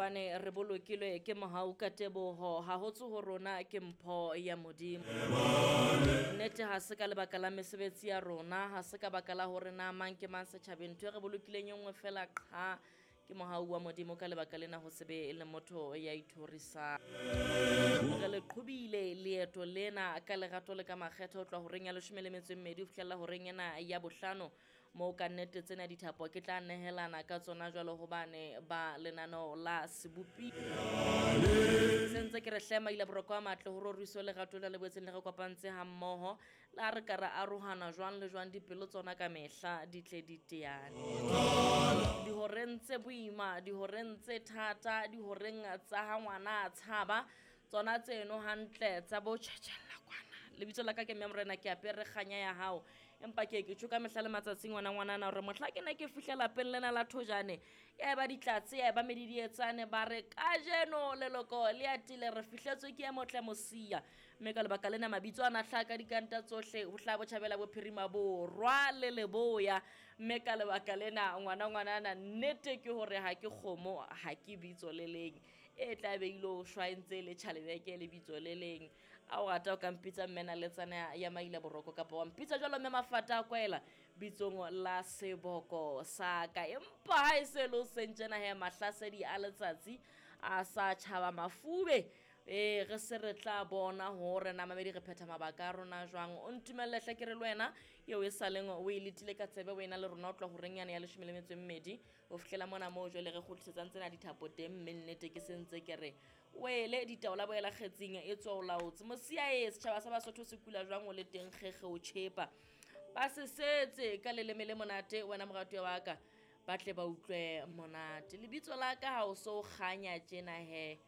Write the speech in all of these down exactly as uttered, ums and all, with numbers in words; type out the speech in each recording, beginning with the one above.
Hobane re bolokilwe ke mohau ka teboho, ha ho tswe ho rona ke mpho ya Modimo. Nnete ha se ka lebaka la mesebetsi ya rona, ha se ka baka la hore na mang ke mang setjhabeng. Ntho e re bolokileng e nngwe fela qha ke mohau wa Modimo. Ka lebaka lena ho se be le motho ya ithorisang. Re le qhobile leeto lena ka lerato le ka makgethe ho tloha horeng ya leshome le metso e mmedi ho fihlella horeng ena ya bohlano, moo ka nnete tsena dithapo ke tla nehelana ka tsona jwalo hobane ba lenaneo la sebopi. Se ntse ke re hle maila boroko a matle ho roriso lerato la le boetseng le re kopantse ha mmoho. Le ha re ka ra arohana jwang le jwang, dipelo tsona ka mehla di tle di teane. Dihoreng tse boima, dihoreng tse thata, dihoreng tsa ha ngwana a tshaba, tsona tseno hantle tsa bo tjhetjhella kwana. Lebitso la ka ke Mme Morena, ke apere kganya ya hao. Empa ke ke tjho ka mehla le matsatsi ngwana ngwanana hore mohla ke ne ke fihla lapeng lena la Thojane, ya eba ditlatse, ya eba medidietsane, ba re kajeno leloko le atile, re fihletswe ke e motle Mosia. Mme ka lebaka lena mabitso ana a hlaha ka dikanta tsohle, ho hlaha Botjhabela, Bophirima, Borwa le Leboya. Mme ka lebaka lena ngwana ngwanana, nnete ke hore ha ke kgomo, ha ke bitso le leng. E tla be ilo shwa e ntse le tjhalebeke le bitso le leng. A o rata o ka mpitsa mme naletsana ya maila boroko, kapa wa mpitsa jwalo mme Mafata a Kwaela bitsong la seboko sa ka. Empa ha e se le o sentjena he, mahlasedi a letsatsi a sa tjhaba mafube. E re se re tla bona hore na mamedi re phetha mabaka a rona jwang. O ntumelle hle ke re le wena eo e saleng o e letile ka tsebe, wena le rona o tloha horeng yane ya leshome le metso e mmedi ho fihlela mona moo jwale re kgutlisetsang tsena dithapo teng. Mme nnete ke se ntse ke re wele ditaola boela kgetsing e tswa o laotse. Mosia e setjhaba sa Basotho se kula jwang o le teng kgekge o tjhepa. Ba se setse ka leleme le monate wena moratuwa wa ka, ba tle ba utlwe monate. Lebitso la ka ha o so kganya tjena he,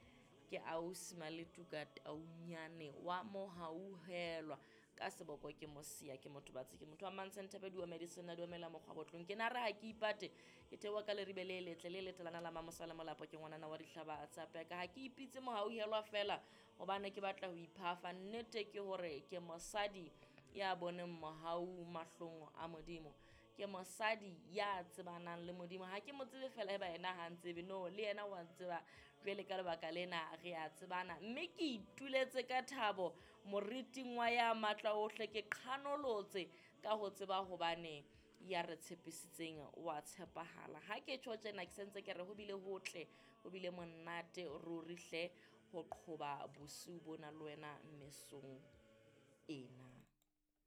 ke ausi Maletuka Taunyane wa Mohauhelwa. Ka seboko ke Mosia, ke motho batsi, ke motho wa Mantsentebe, di wa medicine, di wa mela mokgwa botlong. Ke na re ha ke ipate, ke theoha ka leribe le letle le letelana la Mamosa le Molapo, ke ngwanana wa dihlaba tsa peka. Ha ke ipitse Mohauhelwa fela hobane ke batla ho iphafa. Nnete ke hore ke mosadi ya boneng mohau mahlong a Modimo. Ke mosadi ya tsebanang le Modimo. Ha ke mo tsebe fela eba yena ha ntsebe, no, le yena wa ntseba. Jwale ka lebaka lena re a tsebana. Mme ke ituletse ka thabo moriting wa ya matla ohle, ke qhanolotse ka ho tseba hobane ya re tshepisitseng wa tshepahala. Ha ke tjho tjena ke sentse ke re ho bile hotle, ho bile monate ruri hle ho qhoba bosiu bona le wena mesong ena.